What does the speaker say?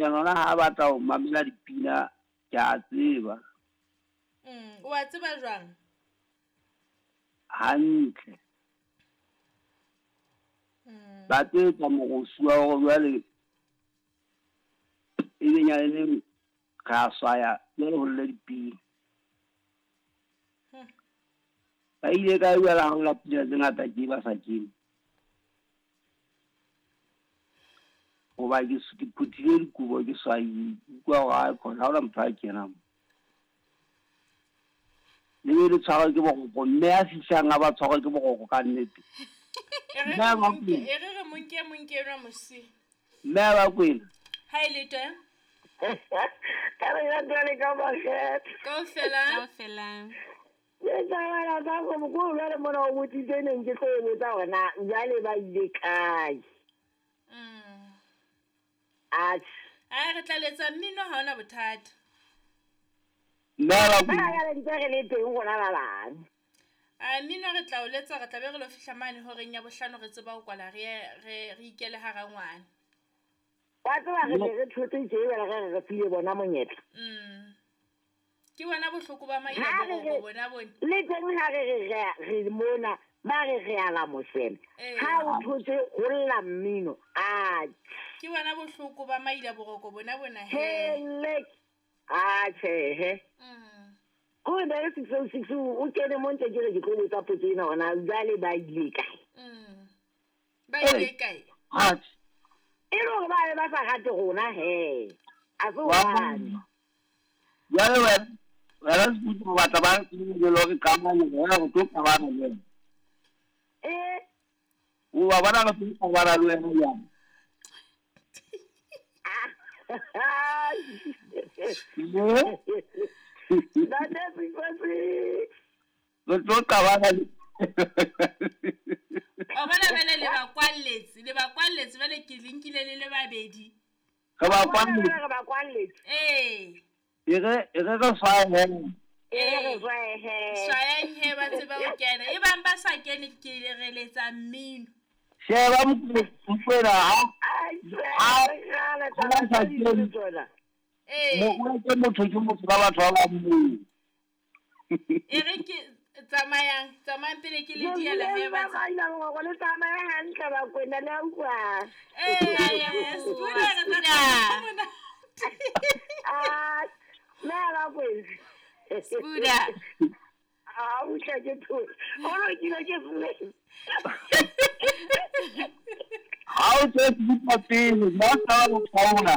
Yona ha batla ho mamela dipina ke a tseba. O a tseba jwang? Hantle. Ba tlo etsa morusu wa hore jwale e be nyaneng re a swaya jwale ho lle dipina. Ba ile kae jwale ha ho lla pina tse ngata tje ba sa kene? Hoba ke phuthile dikobo ke swaile, ke utlwa hore aikhona ha hona motho a kenang mo. Le be le tshwarwe ke boroko, mme a fihlang a ba tshwarwe ke boroko ka nnete. E re re mo nke, e re re mo nke mo nke enwa mosi. Mme a ba kwena. Ha e le teng. Ka re ya jwale ka makgetho. Kaofela. Kaofela. Ke tsamaya ka go ko jwale mona o botsitse neng ke tlo e botsa hore na jwale ba ile kae. Atjhe. Ai re tla letsa mmino ha ona bothata. Mme a ba Ba ya ntse re le teng rona ba bang. A mmino re tla o letsa re tla be re lo fihla mane horeng ya bohlano re tseba ho kwala re re re ikele hara ngwana. Wa tseba re ne re thotse tje jwale re re re file bona monyetla. Ke bona bohloko ba maila Ha re boroko re bona bone. le teng ha re re re mona ba re re a la mosele. Ha o thotse ho lla mmino. Atjhe. Ke bona bohloko ba maila boroko bona bona he. Hele. Atjhe he. Ko ne re 606 o kene mo ntse ke re ke tlo botsa potso ena hona jwale ba ile kae? Ba ile kae? Atjhe. E le hore ba be ba sa rate rona he. A se hobane. Jwale wena wena Sekutu o batla ba re le hore qabane wena re tlo qabana le wena. Eh. O wa bona re tlo qabana le wena jwang? Ntate 606. Re tlo qabana le O bona bele le ba kwalletse, le ba kwalletse bele ke linkile le le babedi. Re ba kwalletse. Re ba kwalletse. Eh. E re re swaye he. E re swaye he. Swayang he ba tseba ho kena. E bang ba sa kene ke re letsa mmino. Sheba Mokwena ha. Ha sa kene. Eh. Mo ke motho ke motho ba batho ba bang moo. E re ke tsamayang, tsamayang pele ke le diela he ba. Ba ile go le tsamaya hantle ba kwena le a utlwa. Eh, Spuna re tla. Ah, na ba kwena. Spuna. Ah, o tla ke tho. O lo ke ile ke fule. Ha o tse di pele, ba tla go tshwana.